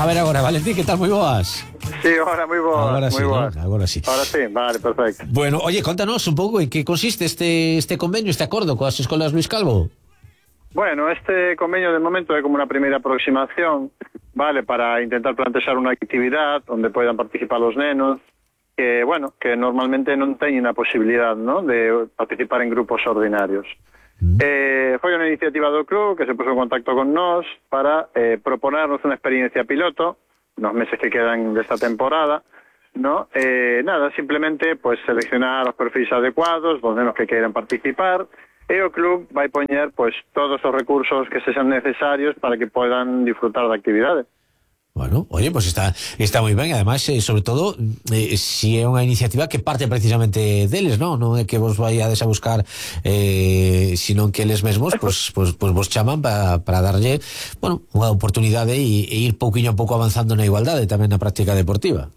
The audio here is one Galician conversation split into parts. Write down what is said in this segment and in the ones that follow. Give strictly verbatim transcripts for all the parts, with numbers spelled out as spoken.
A ver agora, Valentín, que tal, moi boas? Sí, ahora moi boas. Agora sí, boas. ¿no? Agora sí. Ahora sí, vale, perfecto. Bueno, oye, contanos un pouco en que consiste este este convenio, este acordo coas escolas Luis Calvo. Bueno, este convenio de momento é como unha primeira aproximación, vale, para intentar plantexar unha actividade onde poidan participar os nenos que, bueno, que normalmente non teñen a posibilidade, ¿no?, de participar en grupos ordinarios. Mm. Eh, foi unha iniciativa do club que se puso en contacto con nós para eh, proponernos unha experiencia piloto nos meses que quedan desta temporada, ¿no? Eh, nada, simplemente pues seleccionar os perfis adecuados dos nenos que queiran participar e o club vai poñer pues todos os recursos que sexan necesarios para que podan disfrutar da actividade. Bueno, oye, pues está está moi ben, además, eh, sobre todo, eh, si é unha iniciativa que parte precisamente deles, non? Non é que vos vaiades a buscar, eh, sino que eles mesmos, pues, pues, pues vos chaman para para darlle, bueno, unha oportunidade e, e ir pouquiño a pouco avanzando na igualdade tamén na práctica deportiva.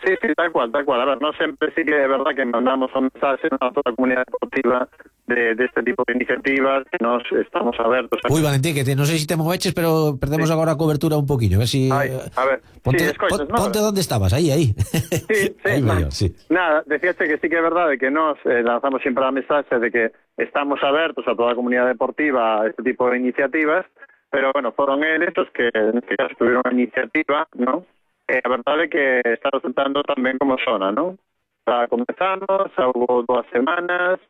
Sí, sí, tal cual, tal cual. A ver, no sempre sí que é verdad que mandamos un mensaje a toda a comunidade deportiva de, de este tipo de iniciativas, que nos estamos abertos a... Uy, Valentín, que te, non sei se te moveches, pero perdemos sí. agora a cobertura un poquinho, a ver si... Ay, a ver, ponte, sí, escoitas, pon, ponte onde estabas, aí, aí. Sí, sí. Aí mellor, sí. Nada, decíaste que sí que é verdade que nos eh, lanzamos sempre a mensaxe de que estamos abertos a toda a comunidade deportiva a este tipo de iniciativas, pero, bueno, foron eles os que, en este caso, tuvieron a iniciativa, ¿no? Eh, a verdade é que está resultando tamén como zona, non? Está comenzamos, houve dúas semanas,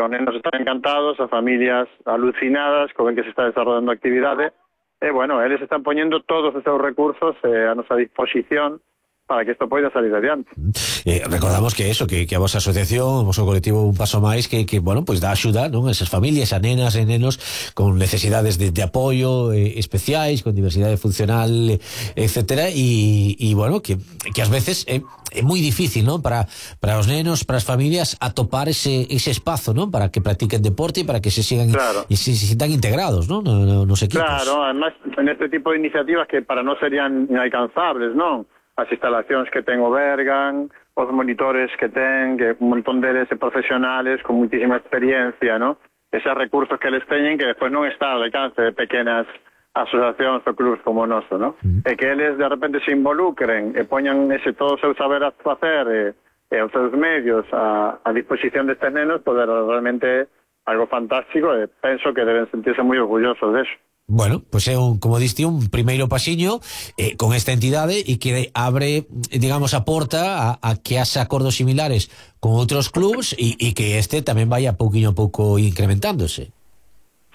os nenos están encantados, as familias alucinadas con que se está desarrollando a actividade, e, bueno, eles están poñendo todos os seus recursos eh, a nosa disposición para que isto poida salir adiante. Eh, recordamos que eso, que, que a vosa asociación, o vosso colectivo Un Paso Máis, que, que bueno, pues dá axuda, non? A esas familias, a nenas e nenos con necesidades de, de apoio eh, especiais, con diversidade funcional, etcétera, e, e bueno, que, que ás veces é, é moi difícil, non? Para, para os nenos, para as familias, atopar ese, ese espazo, non? Para que practiquen deporte e para que se sigan claro. e se, se sientan integrados, non? No, no, nos equipos. Claro, además, en este tipo de iniciativas que para non serían inalcanzables, non? As instalacións que ten o Bergan, os monitores que ten, que un montón deles de profesionales con muitísima experiencia, ¿no? Eses recursos que les teñen que despois non está ao alcance de pequenas asociacións ou clubs como o noso, ¿no? Mm. E que eles de repente se involucren e poñan ese todo o seu saber a facer e, e os seus medios a, a disposición destes nenos, poder realmente algo fantástico e penso que deben sentirse moi orgullosos deso. Bueno, pois pues é un, como diste, un primeiro pasiño eh, con esta entidade e que abre, digamos, a porta a, a que haxa acordos similares con outros clubs e, e que este tamén vaya pouquiño a pouco incrementándose.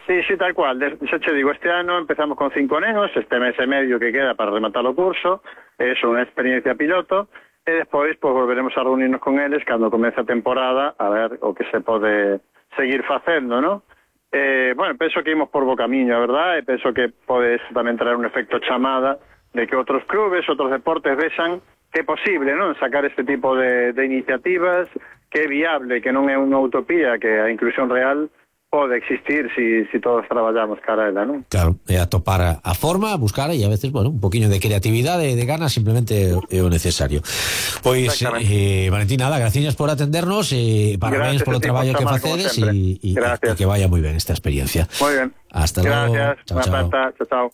Sí, sí, tal cual. Xa te digo, este ano empezamos con cinco nenos, este mes e medio que queda para rematar o curso, é unha experiencia piloto, e despois pues, volveremos a reunirnos con eles cando comece a temporada a ver o que se pode seguir facendo, ¿no? Eh, bueno, penso que imos por bo camiño, a verdad, e penso que pode tamén traer un efecto chamada de que outros clubes, outros deportes vexan que é posible, non, sacar este tipo de, de iniciativas, que é viable, que non é unha utopía, que a inclusión real pode existir si, si todos traballamos cara a ela, non? Claro, é a topar a forma, a buscar e a veces, bueno, un poquinho de creatividade e de ganas simplemente é o necesario. Pois, eh, Valentín, nada, gracias por atendernos e eh, parabéns polo traballo que facedes e, e, e que vaya moi ben esta experiencia. Moi ben. Hasta logo. Gracias, chao, chao. Chao, chao.